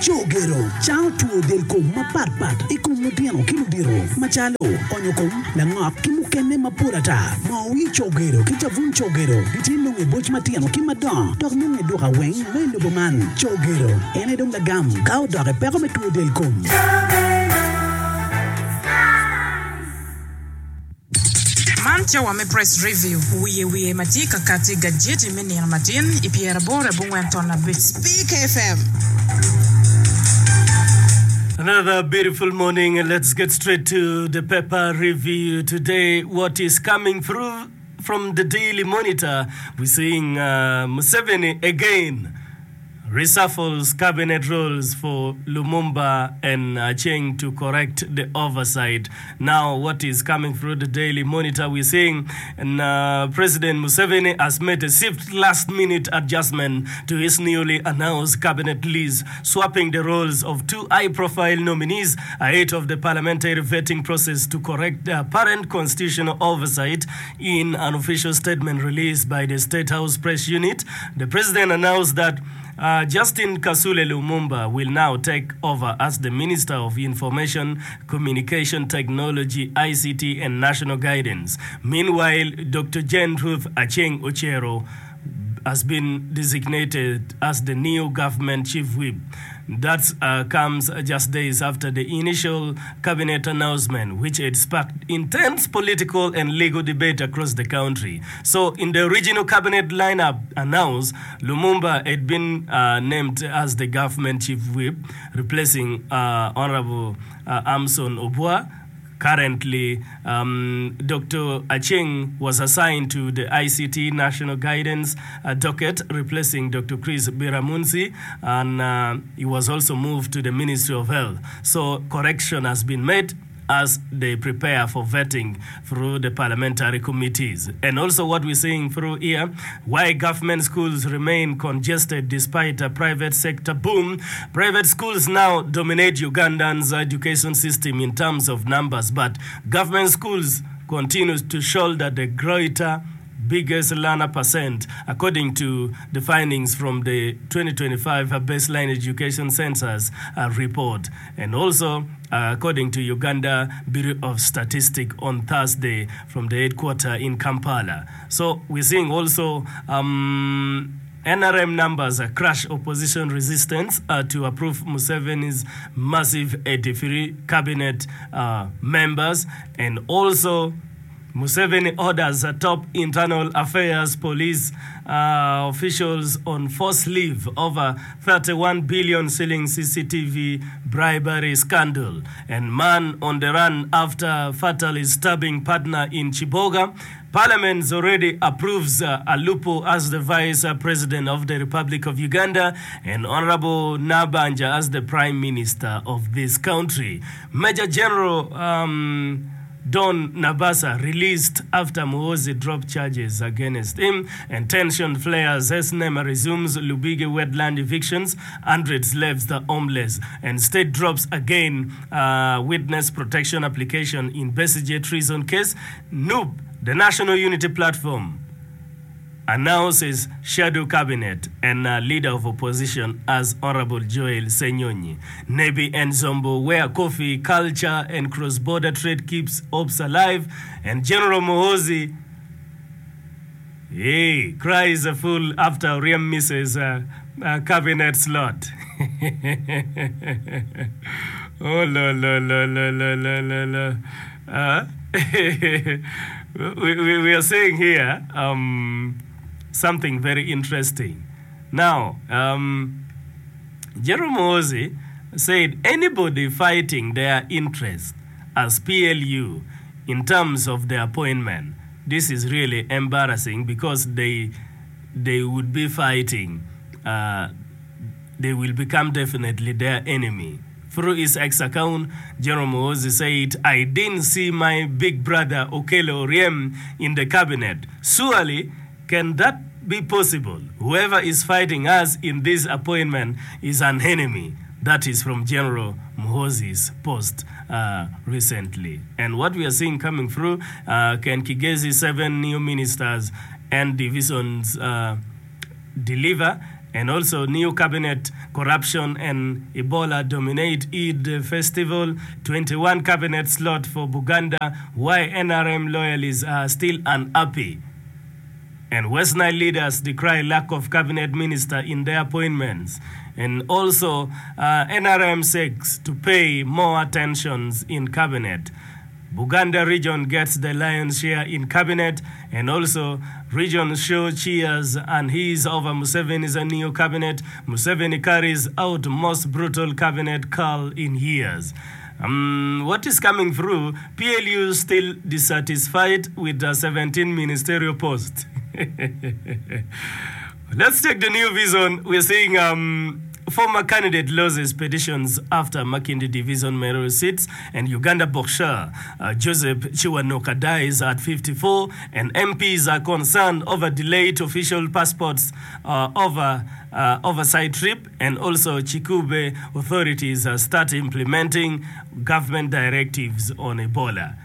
Cogero cango two del kom mapat pat i kom lutino ki ludito macalo onyo kom, langok ki mukene mapol ata. Moo wir cogero ki cabun cogero gitye nongo i boc matino ki madongo dok nongo i duka weng ma i lobo man. Cogero en aye dong lagam ka odok i peko me two del kom. Man cawa me Press Review, wiye wiye ma tye ka kati i gajeti me nino matin i pyeraboro abongwen ton abic. Speak FM. Another beautiful morning and let's get straight to the paper review today. What is coming through from the Daily Monitor? We're seeing uh, Museveni again reshuffles cabinet roles for Lumumba and Acheng to correct the oversight. Now, what is coming through the Daily Monitor? We're seeing and, uh, President Museveni has made a swift last-minute adjustment to his newly announced cabinet list, swapping the roles of two high-profile nominees ahead of the parliamentary vetting process to correct the apparent constitutional oversight. In an official statement released by the State House Press Unit, the president announced that Justin Kasule Lumumba will now take over as the Minister of Information, Communication Technology, ICT, and National Guidance. Meanwhile, Doctor Jane Ruth Aceng Ocero has been designated as the new government chief whip. That comes just days after the initial cabinet announcement, which had sparked intense political and legal debate across the country. So, in the original cabinet lineup announced, Lumumba had been named as the government chief whip, replacing Honorable Amson Obua. Currently, Doctor Aceng was assigned to the ICT National Guidance docket, replacing Doctor Chris Biramunsi, and he was also moved to the Ministry of Health. So, correction has been made as they prepare for vetting through the parliamentary committees. And also what we're seeing through here, why government schools remain congested despite a private sector boom. Private schools now dominate Ugandan's education system in terms of numbers, but government schools continue to shoulder the greater biggest learner percent, according to the findings from the 2025 Baseline Education Census report. And also, according to Uganda Bureau of Statistics on Thursday from the headquarter in Kampala. So we're seeing also um, NRM numbers crash opposition resistance uh, to approve Museveni's massive 83 cabinet uh, members and also Museveni orders top internal affairs police officials on forced leave over 31 billion shilling CCTV bribery scandal and man on the run after fatally stabbing partner in Kiboga. Parliament already approves Alupo as the Vice President of the Republic of Uganda and Honorable Nabanja as the Prime Minister of this country. Major General um, Don Nabasa released after Muhoozi dropped charges against him and tension flares as NEMA resumes Lubigi wetland evictions, hundreds left the homeless and state drops again witness protection application in Besigye treason case. NUP, the National Unity Platform, announces shadow cabinet and leader of opposition as Honourable Joel Ssenyonyi. Nebbi and Zombo where coffee, culture and cross border trade keeps hopes alive and General Muhoozi Hey, cries a fool after Oryem misses a cabinet slot. Oh lo lo lo lo lo lo lo lo. Uh, we, we, we are saying here um, something very interesting. Now, um, Jerome Muhoozi said anybody fighting their interest as PLU in terms of the appointment, this is really embarrassing because they, they would be fighting, uh, they will become definitely their enemy. Through his X account, General Muhoozi said, I didn't see my big brother Okello Oryem in the cabinet. Surely, can that be possible? Whoever is fighting us in this appointment is an enemy. That is from General Muhoozi's post uh, recently. And what we are seeing coming through, uh, can Kigezi seven new ministers and divisions uh, deliver? And also new cabinet corruption and Ebola dominate Eid festival, 21 cabinet slot for Buganda, why nrm loyalists are still unhappy and West Nile leaders decry lack of cabinet minister in their appointments and also nrm seeks to pay more attentions in cabinet. Buganda region gets the lion's share in cabinet and also region show cheers and he's over Museveni's new cabinet, Museveni carries out most brutal cabinet cull in years. Um, what is coming through, PLU still dissatisfied with the 17 ministerial posts. Let's take the new vision. We're seeing um, former candidate loses petitions after Makindye Division mayoral seats and Uganda boxer uh, Joseph Kiwanuka dies at 54 and MPs are concerned over delayed official passports uh, over uh, oversight trip and also Kikuube authorities uh, start implementing government directives on Ebola.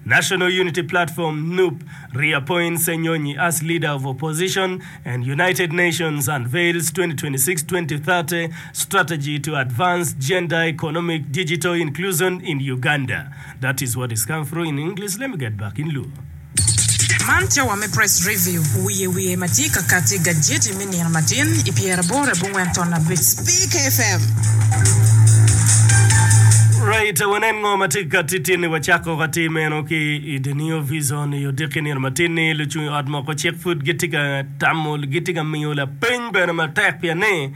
National Unity Platform, NUP, reappoints Ssenyonyi as leader of opposition and United Nations unveils 2026-2030 strategy to advance gender economic digital inclusion in Uganda. That is what is come through in English, let me get back in Luo. Man cawa me Press Review, wiye wiye ma tye ka kati i gajeti me nino matin i pyeraboro abongwen ton abic. Speak FM. Right, wanen ngo ma tye ka kati tin-ni. Wacako ka tim meno ki i The New Vision i odiki nino matin-ni. Lucung i ot moko cik pud gitye ka tamo, gitye ka miyo lapeny bene matek pien ni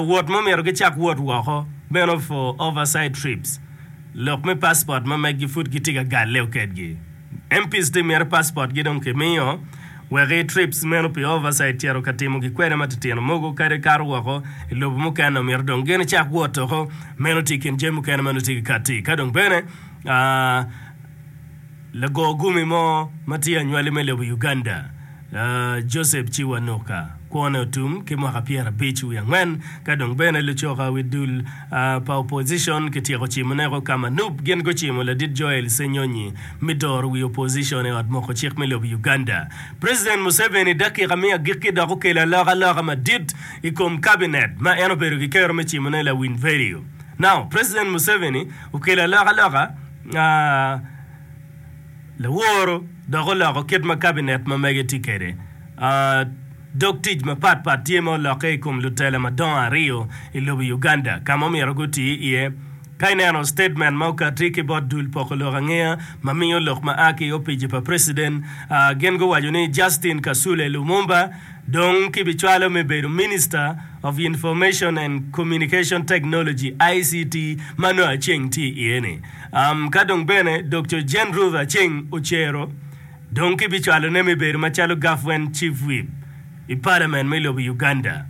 wot mo myero gicak wot woko meno for oversight trips. Lok me passport ma meggi pud gitye ka galle kedgi. MPs tye myero passport gi dong kimiyo wek i trips meno pi oversight cito ka timo gi kwede matitino mogo kadi kato woko i lobo mukene omyero dong gin icak wot oko meno tye i kin jami mukene ma nongo tye ka kati ka dong bene lago gumi mo ma tye anywali me lobo Uganda Joseph Kiwanuka kwone otum ki mwaka pyerabic wiye angwen ka dong bene lucoka wi dul pa opposition kityeko cimo neko ka ma nup gin gucimo ladit Joel Ssenyonyi me doro wi opposition i ot moko cik me lobo Uganda. President Museveni dakika me agikki dok okelo alokaloka madit i kom cabinet ma en obedo ki kero me cimone lawiny vedio. Now President Museveni okelo alokaloka Laworo dok oloko kit ma kabinet ma mege tye kwede. Dog tic mapat pat tye ma olokke i kom lutela madongo aryo i lobo Uganda ka ma omyero guti iye. Ka ineno statement ma okati ki bot dul poko lok angeya ma miyo lok ma a ki i opici pa President, gin guwaco ni Justin Kasule Lumumba dong kibicwalo me bedo Minister of Information and Communication Technology, ICT, ma nongo Aceng tye iye-ni. Ka dong bene Doktor Jane Ruth Aceng Ocero dong kibicwalone me bedo macalo Gavwent Chief Whip i Parliament me lobo Uganda.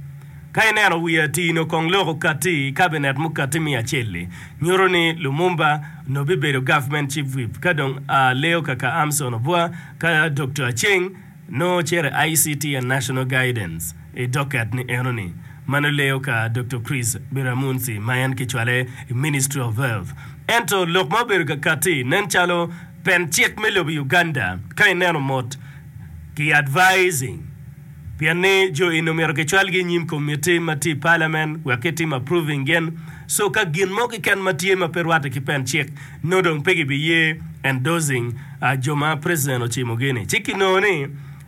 Ka ineno wiye atir-ni kong lok okatti i kabinet mukatti me acel-li, nyuto ni Lumumba onongo bibedo Gavment Chief Whip ka dong Leo Kaka Amson Obua ka Doktor Aceng Nongo cito i ICT and National Guidance i docket ni eno ni mano leyo ka Doktor Chris Biramunsi ma en kicwale i Ministry of Health. Ento lok ma obedo ka kati nen calo pen cik me lobo Uganda ka ineno mot ki advising pien ni jo eni omyero kicwalgi i nyim committee ma tye i parliament wek kitim approving gin so ka gin mo keken ma tye ma pe rwate ki pen cik nongo dong pe gibiye endorsing jo ma president ocimogi-ni. Ci kinongo ni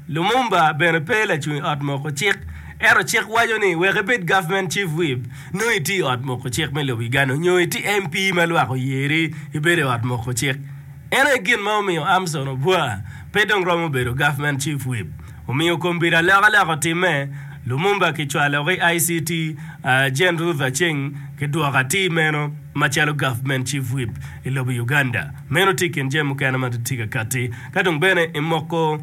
Lumumba bene pe lacung i ot moko cik, ento cik waco ni wek ibed government chief whip nongo itye i ot moko cik me lobo Uganda nyo itye MP ma lwak oyeri ibedo i ot moko cik. En aye gin ma omiyo Amson Obua pe dong romo bedo government chief whip. Omiyo kombeddi alokaloka otimme, Lumumba kicwalo ki ICT, Jane Ruth Aceng kidwoko atir meno macalo government chief whip i lobo Uganda. Meno tye i kin jami mukene ma tye ka katti. Ka dong bene imoko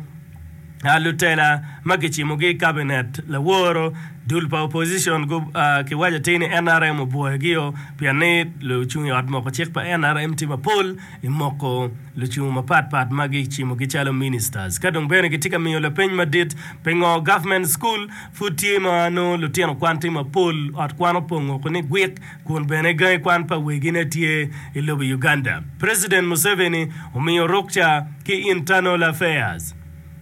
lutela ma kicimogi i kabinet laworo, dul pa opposition kiwaco atir ni nrm obwoyogio pien ni lucung i ot moko cik pa nrm tye mapol i moko lucung mapat pat ma gicimogi calo ministers. Ka dong bene gitye ka miyo lapeny madit pingo government school pud tye ma nongo lutino kwan tye mapol, ot kwan opongo ko ni gwik kun bene gangi kwan pa wegine tye i lobo Uganda. President Museveni omiyo rukca ki Internal Affairs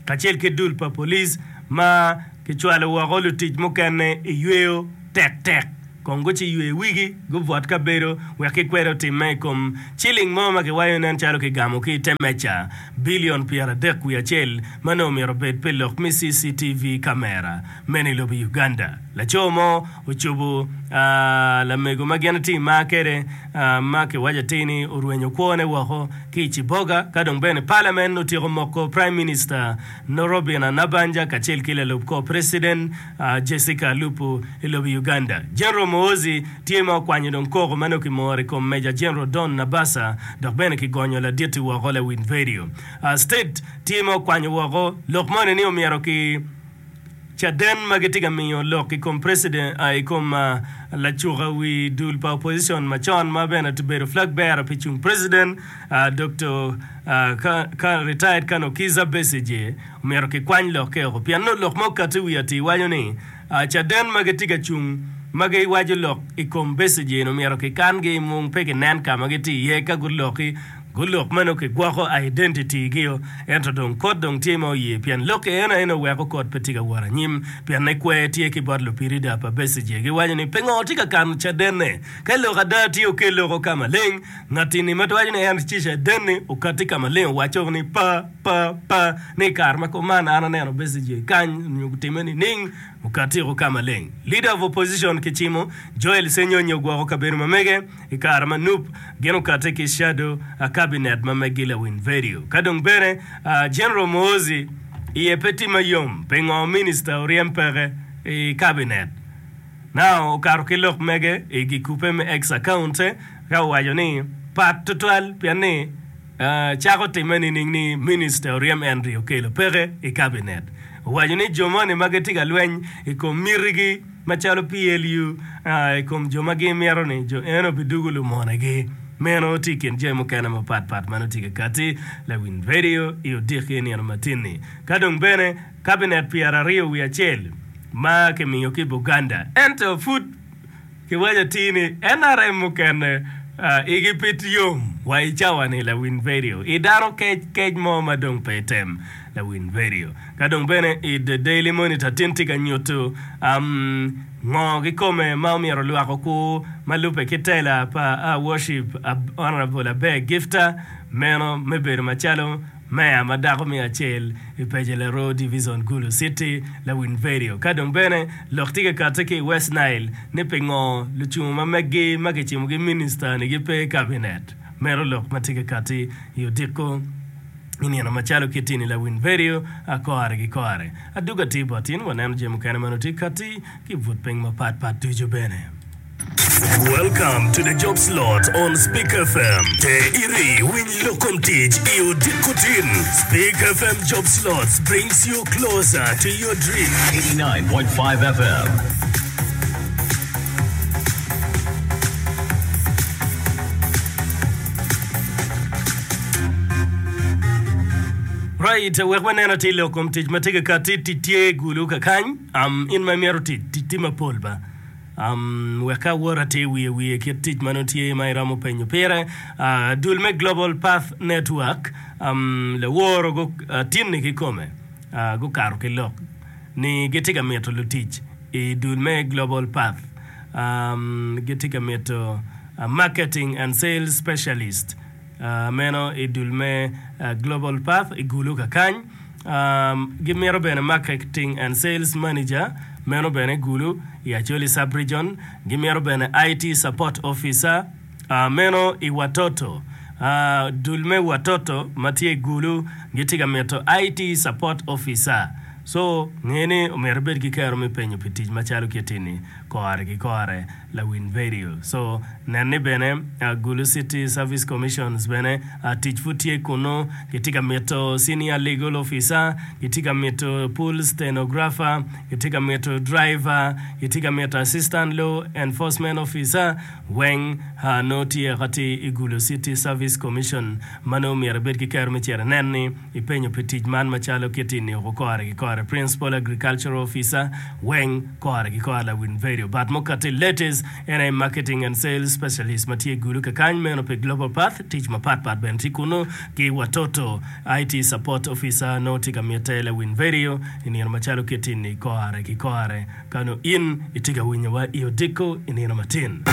kacel ki dul pa police ma. Kicwalo woko lutic mukene i yweyo tektek kong guciywe wigi gubwot kabedo wek kikwed otimme i kom ciling mo ma kiwaco nen calo kigamo ki i te meja bilion 31 ma nongo myero obed pi lok me CCTV kamera meno i lobo Uganda. Laco mo ocobo lamego ma gin tye i mar kwede ma kiwaco atir ni orwenyo kwone woko ki i Ciboga ka dong bene Parliament otyeko moko Prime Minister Robinah Nabbanja kacel ki lalub kor President Jessica Alupo i lobo Uganda. General Muhoozi tye ma okwanyo dong koko ma nongo kimoro i kom Major General Don Nabasa dok bene kigonyo ladit-ti woko lawiny vedio. State tye ma okwanyo woko lok moni ni omyero ki caden ma gitye ka miyo lok i kom president i kom lacuka wi dul pa opposition macon ma bene obedo flag bearer pi cung president Doktor Retired Colonel Kizza Besigye Omyero kikwany lokke oko pien nongo lok ma okatti i wi atir waco ni, Caden ma gitye ka cung ma giwaco lok i kom Besigye-ni omyero kikangi i mung pe kinen ka ma gitye iye ka guloki gulok ma nongo kigwoko identity-gio. Ento dong kot dong tye ma oye pien lokke en aye nongo weko kot pe tye ka wot anyim pienne kwer tye ki bot lupirida pa Besigye giwaco ni pingo tye ka kano cadenne ka lok ada tye okel loko ka maleng. Ngatini ma waco ni en tye caden-ni okatti ka maleng owaco ni pa. Pa, pa, ni i kare ma kuman an aneno Besigye kany nyo gutime nining? Okatiko ka maleng. Leader of opposition kicimo Joel Ssenyonyi ogwoko kabedo ma mege i kare ma nup gin okate ki shadow cabinet ma megi lawiny vedio. Ka dong bene General Muhoozi iye pe tye mayom pingo minister oryem peke i cabinet. Now okato ki lok mege i gikupe me X account ka owaco ni pat tutwal pien ni Cako timme nining ni Minista oryem Henry Okello peke i kabinet? Owaco ni jo moni ma gitye ka lweny i kom mitigi macalo PLU i kom jo ma gimito ni jo eno bidugo lumonegi. Meno tye i kin jami mukene mapat pat ma nongo tye ka kati lawiny radio i odiki nino matin-ni. Ka dong bene kabinet pyeraryo wiye acel ma kimiyo ki Buganda ento pud Kiwaco atir ni NRM mukene igi pe yom wa i cawa ni lawiny vedio i dano kec kec mo ma dong pe tem lawiny vedio. Ka dong bene i The Daily Monitor tin tye ka nyuto ngo kikome ma omyero lwak okur ma lube ki tela pa Worship Honourable Aber Gifter meno me bedo macalo Meya ma dako me acel i Peje Laroo Divizon Gulu City, Lawiny Vedio. Ka dong bene lok tye ka kati ki i West Nile ni pingo lucungu ma meggi ma kicimogi minista ni gipe i kabinet. Meno lok ma tye ka kati i odiko i nino macalo kiti ni Lawiny Vedio a kore ki kore. Aduga tye bot in waneno jami mukene ma nongo tye kati ki i but piny mapat pat ducu bene. Welcome to the job slot on Speak FM. Te iri winy lok kom tic i odiko tin. Speak FM job slots brings you closer to your dream. 89.5 FM. Right, wek wanen atir lok kom tic ma tye ka kati, tic tye gulu kakany. Um, in ma imito tic, tic tye mapol ba. Wek ka awot atir wiye wiye kit tic ma nongo tye ma iromo penyo pire, dul me Global Path Network laworo tinni kikome gukato ki lok ni gitye ka mito lutic i dul me Global Path. Gitye ka mito Marketing and Sales Specialist meno i dul me Global Path i Gulu kakany. Gimito bene Marketing and Sales Manager, meno bene Gulu i Acholi Sub-Region. Gimito bene IT Support Officer, meno i Watoto. Dul me Watoto ma tye i Gulu gitye ka mito IT Support Officer. So, nge ni omyero ibed ki kero me penyo pi tic macalo kiti-ni kore ki kore. Lawiny vedio. So nen ni bene Gulu City Service Commissions bene tic pud tye kunu, gitye ka mito Senior Legal Officer, gitye ka mito Pool Stenographer, gitye ka mito Driver, gitye ka mito Assistant Law Enforcement Officer, weng nongo tye atir i Gulu City Service Commission ma nongo myero ibed ki kero me cito inen ni ipenyo pi tic man macalo kiti nio kore ki kore Principal Agricultural Officer weng kore ki kore Lawiny vedio. Radio. But mukati latest en aye Marketing and Sales Specialist ma tye i Gulu kakany meno pi Global Path. Tic mapat pat bene tye kunu ki Watoto IT Support Officer nongo tye ka mitte lawiny radio i nino macalo kit-ti-ni kore ki kore. Ka nongo in itye ka winyowa i odiko i nino matin.